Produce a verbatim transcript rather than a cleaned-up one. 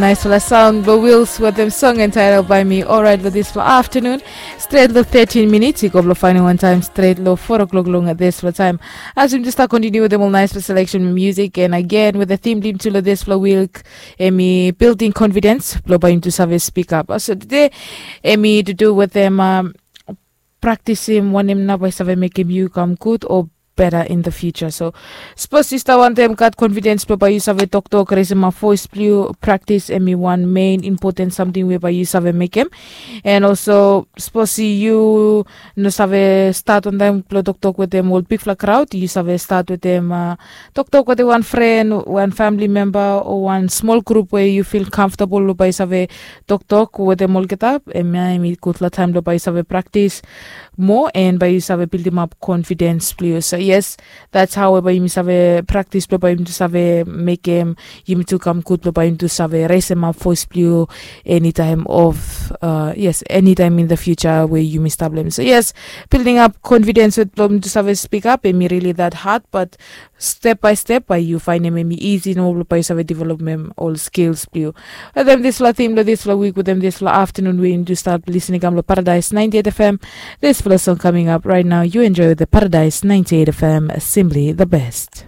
Naispela saun blong Wils wetem song entitled by me. Orait long dispela aftanun, stret long thirteen minits i go blong fainal wan taim stret long four o'clock long dispela taim. As yumi just start continue wetem ol naispela selection music and again with the theme blong yumi tu long dispela week, em i building confidence blong bai yumi tu save speak up. So today em i to do wetem um, praktisim wanem nao bai save mekim yu kam gud o beta in the future. So sapos yu stap wantaim gat confidence blong bai yu save toktok, resemap voice blong yu, praktis em i wan main impoten samting we bai yu save mekim. And also sapos yu no save stat wantaim blong toktok wetem ol bikpela kraud, yu save stat wetem uh, toktok wetem wan fren, wan famili memba o wan smol grup we yu fil kamfotabol blong bai yu save toktok wetem olgeta. Em ya em i gutpela taim blong bai yu save praktis moa and bai yu save bildimap confidence blong yu. So yes, that's how bai yumi save praktis blong bai yumi tu save mekim yumi tu kam gud blong bai yumi tu save resemap voice blong yu anytime of uh, yes, anytime in the future we yumi stap long em. So yes, building up confidence with blong yumi tu save speak up em i really that hard, but step by step bai yu fainim em i easy nomo blong bai yu save developim ol skills blong yu. Wetem dispela theme long dispela week, wetem dispela afternoon we yumi tu stap listening kam long Paradise ninety-eight F M. Dispela song coming up right now, you enjoy the Paradise ninety-eight F M, simply the best.